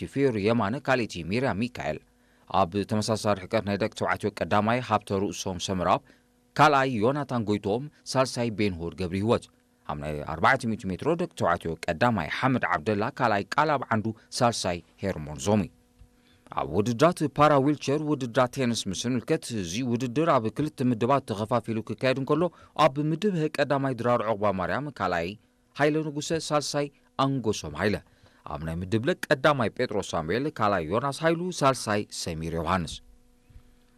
ቲፌሩ የማነ፣ ካልኣይቲ ሚርያም ሚካኤል። ኣብ ተመሳሳሊ ርሕቀት ናይ ደቂ ተባዕትዮ ቀዳማይ ሃብተ ርእሶም ሰምራብ፣ ካልኣይ ዮናታን ጎይትኦም፣ ሳልሳይ ቤንሁር ገብረ ህይወት። ኣብ ናይ ኣርባዕተ ሚእቲ ሜትሮ ደቂ ተባዕትዮ ቀዳማይ ሓመድ ዓብደላ፣ ካልኣይ ቃላብ ዓንዱ፣ ሳልሳይ ሄርሞን ዞሚ። ኣብ ውድድራት ፓራ ዊልቸር ውድድራት ቴንስ ምስ ንምልከት፣ እዚ ውድድር ኣብ ክልተ ምድባት ተኸፋፊሉ ክካየድ እንከሎ፣ ኣብ ምድብ ሀ ቀዳማይ ድራር ዑቕባ ማርያም፣ ካልኣይ ሃይለ ንጉሰ፣ ሳልሳይ ኣንጎሶም ሃይለ። ኣብ ናይ ምድብ ለ ቀዳማይ ጴጥሮስ ሳሙኤል፣ ካልኣይ ዮናስ ሃይሉ፣ ሳልሳይ ሰሚር ዮሃንስ።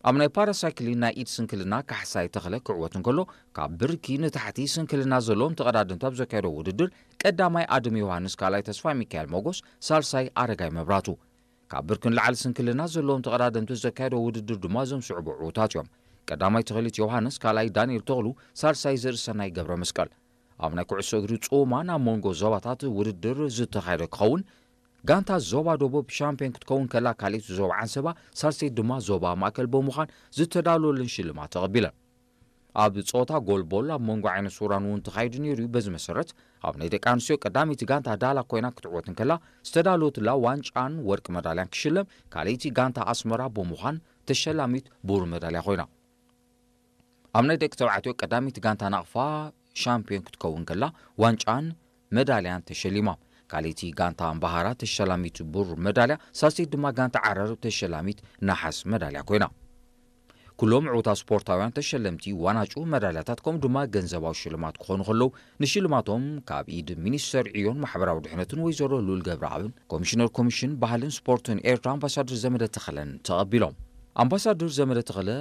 ኣብ ናይ ፓራሳይክሊን ናይ ኢድ ስንክልና ካሕሳይ ተኽለ ክዕወት እንከሎ፣ ካብ ብርኪ ንታሕቲ ስንክልና ዘለዎም ተቐዳደምቲ ኣብ ዘካየዶ ውድድር፣ ቀዳማይ ኣድም ዮሃንስ፣ ካልኣይ ተስፋ ሚካኤል ሞጎስ፣ ሳልሳይ ኣረጋይ መብራቱ። ካብ ብርኪ ንላዕሊ ስንክልና ዘለዎም ተቐዳደምቲ ዘካየዶ ውድድር ድማ እዞም ስዕቡ ዕዉታት እዮም። ቀዳማይ ተኽሊት ዮሃንስ፣ ካልኣይ ዳንኤል ተኽሉ፣ ሳልሳይ ዘርእሰናይ ገብረ መስቀል። ኣብ ናይ ኩዕሶ እግሪ ጾማ ናብ መንጎ ዞባታት ውድድር ዝተኻየደ ክኸውን፣ ጋንታ ዞባ ደቡብ ሻምፒዮን ክትከውን ከላ፣ ካልኣይቲ ዞባ ዓንሰባ፣ ሳልሰይቲ ድማ ዞባ ማእከል ብምዃን ዝተዳለወለን ሽልማት ተቐቢለን። ኣብ ጾታ ጎልቦል ኣብ መንጎ ዓይነ ሱራን እውን ተኻይዱ ነይሩ እዩ። በዚ መሰረት፣ ኣብ ናይ ደቂ ኣንስትዮ ቀዳመይቲ ጋንታ ዳላ ኮይና ክትዕወት እንከላ፣ ዝተዳለወትላ ዋንጫን ወርቂ መዳልያን ክሽለም፣ ካልኣይቲ ጋንታ ኣስመራ ብምዃን ተሸላሚት ብሩር መዳልያ ኮይና። ኣብ ናይ ደቂ ተባዕትዮ ቀዳመይቲ ጋንታ ናቕፋ ሻምፒዮን ክትከውን ከላ፣ ዋንጫን መዳልያን ተሸሊማ። ካልኣይቲ ጋንታ ኣምባሃራ ተሸላሚት ብሩር መዳልያ፣ ሳልሰይቲ ድማ ጋንታ ዓረር ተሸላሚት ነሓስ መዳልያ ኮይና። ኩሎም ዕዉታት ስፖርታውያን ተሸለምቲ ዋናጩ መዳልያታት ከምኡ ድማ ገንዘባዊ ሽልማት ክኾኑ ከለዉ፣ ንሽልማቶም ካብ ኢድ ሚኒስተር ዕዮን ማሕበራዊ ድሕነትን ወይዘሮ ሉል ገብረኣብን ኮሚሽነር ኮሚሽን ባህልን ስፖርትን ኤርትራ ኣምባሳደር ዘመደ ተኽለን ተቐቢሎም። ኣምባሳደር ዘመደ ተኽለ